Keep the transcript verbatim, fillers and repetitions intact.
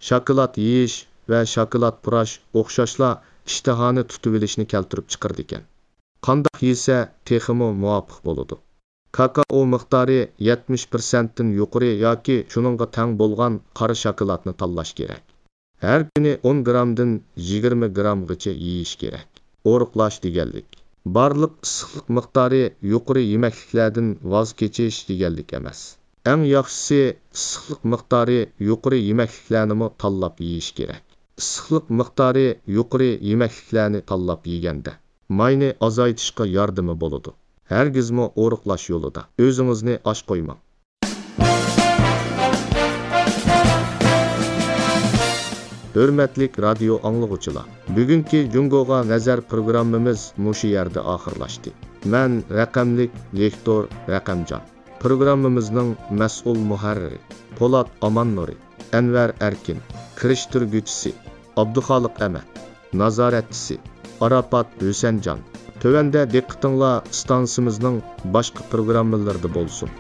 شاكىلات يېيىش ۋە شاكىلات پۇراش ئوخشاشلا ئىشتىھانى تۇتۇۋېلىشنى كەلتۈرۈپ چىقىرىدىكەن. قانداق يېسە تېخىمۇ مۇۋاپىق بولىدۇ؟ كاكائو مىقدارى يەتمىش پىرسەنتتىن يۇقىرى ياكى شۇنىڭغا تەڭ بولغان قارا شاكىلاتنى تاللاش كېرەك. ھەر كۈنى ئون گرامدىن يىگىرمە گرامغىچە يېيىش كېرەك. ئورۇقلاش دېگەنلىك، بارلىق ئىسسىقلىق مىقدارى يۇقىرى يېمەكلىكلەردىن ۋاز كېچىش دېگەنلىك ئەمەس. ئەڭ ياخشىسى، ئىسسىقلىق مىقدارى يۇقىرى يېمەكلىكلەرنىمۇ تاللاپ يېيىش كېرەك. ئىسسىقلىق مىقدارى يۇقىرى يېمەكلىكلەرنى تاللاپ يېگەندە، ماينى ئازايتىشقا ياردىمى بولىدۇ. ھەرگىزمۇ ئورۇقلاش يولىدا ئۆزىڭىزنى ئاچ قويماڭ. ھۆرمەتلىك رادىيو ئاڭلىغۇچىلار، بۈگۈنكى جۇڭگوغا نەزەر پروگراممىمىز مۇشۇ يەردە ئاخىرلاشتى. مەن رەقەملىك لېكتور رەقەمجان. پروگراممىمىزنىڭ مەسئۇل مۇھەررىرى پولات ئاماننۇرى، ئەنۋەر ئەركىن، كىرىشتۈرگۈچىسى ئابدۇخالىق ئەمەت، نازارەتچىسى ئاراپات ھۈسەنجان. تۆۋەندە دىققىتىڭلار ئىستانسىمىزنىڭ باشقا پروگراممىلىرىدا بولسۇن.